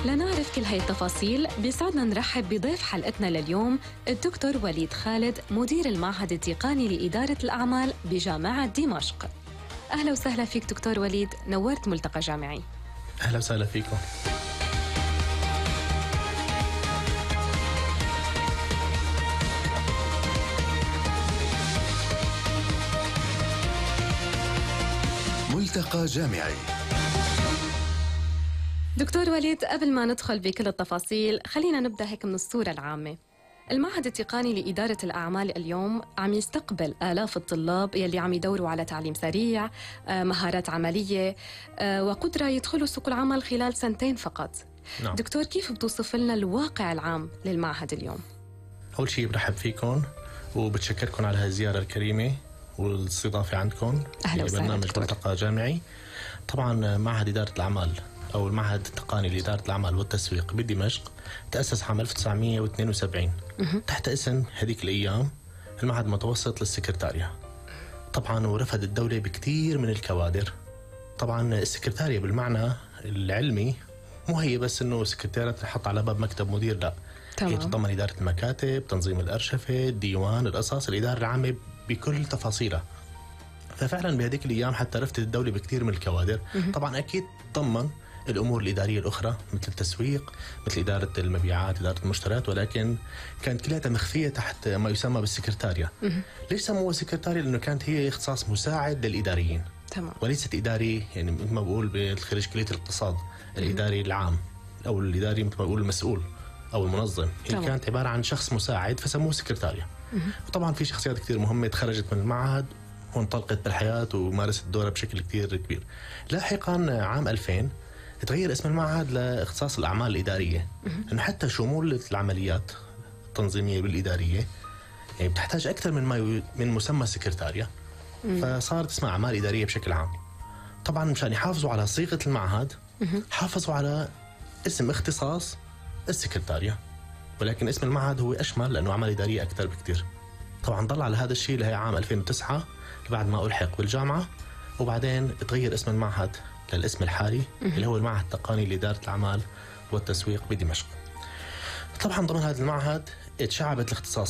لنعرف كل هاي التفاصيل بيسعدنا نرحب بضيف حلقتنا لليوم الدكتور وليد خالد، مدير المعهد التقني لإدارة الأعمال بجامعة دمشق. أهلا وسهلا فيك دكتور وليد، نورت ملتقى جامعي. أهلا وسهلا فيكم. ملتقى جامعي. دكتور وليد، قبل ما ندخل بكل التفاصيل خلينا نبدأ هيك من الصورة العامة. المعهد التقني لإدارة الأعمال اليوم عم يستقبل آلاف الطلاب يلي عم يدوروا على تعليم سريع، مهارات عملية، وقدرة يدخلوا سوق العمل خلال 2 سنين فقط. نعم. دكتور، كيف بتوصف لنا الواقع العام للمعهد اليوم؟ أول شيء برحب فيكم وبتشكركم على هذه الزيارة الكريمة والاستضافة عندكم. أهلا وسهلا برنامج دكتور. ملتقى جامعي. طبعا معهد إدارة الأعمال أو المعهد التقني لإدارة الأعمال والتسويق بدمشق تأسس عام 1972 تحت اسم هذيك الأيام المعهد المتوسط للسكرتارية. طبعا ورفد الدولة بكثير من الكوادر. طبعا السكرتارية بالمعنى العلمي مو هي بس إنه سكرتيرة تحط على باب مكتب مدير، لا، هي تتضمن إدارة المكاتب، تنظيم الأرشفة، الديوان، القصص، الإدارة العامة بكل تفاصيلها. ففعلا بهذيك الأيام حتى رفضت الدولة بكثير من الكوادر. طبعا أكيد ضمن الأمور الإدارية الأخرى مثل التسويق، مثل إدارة المبيعات، إدارة المشتريات، ولكن كانت كلها مخفية تحت ما يسمى بالسكرتارية. ليش سموها سكرتارية؟ لأنه كانت هي اختصاص مساعد للإداريين. تمام. وليست إداري، يعني مثل ما بقول بالخريج كلية الاقتصاد الإداري العام أو الإداري مثل ما بقول المسؤول أو المنظم. هي كانت عبارة عن شخص مساعد فسموه سكرتارية. وطبعا في شخصيات كثير مهمة تخرجت من المعهد وانطلقت بالحياة ومارست دورها بشكل كثير كبير. لاحقا عام 2000 تغير اسم المعهد لاختصاص الأعمال الإدارية، إنه حتى شمول العمليات التنظيمية بالإدارية يعني بتحتاج أكثر من مسمى سكرتارية، فصارت اسمها أعمال إدارية بشكل عام. طبعا مشان يحافظوا على صيغة المعهد حافظوا على اسم اختصاص السكرتارية، ولكن اسم المعهد هو أشمل لأنه أعمال إدارية أكثر بكثير. طبعا ضل على هذا الشيء لهي عام 2009 بعد ما ألحق بالجامعة، وبعدين تغير اسم المعهد للاسم الحالي اللي هو المعهد التقني لإدارة الأعمال والتسويق بدمشق. طبعا ضمن هذا المعهد تشعبت الاختصاصات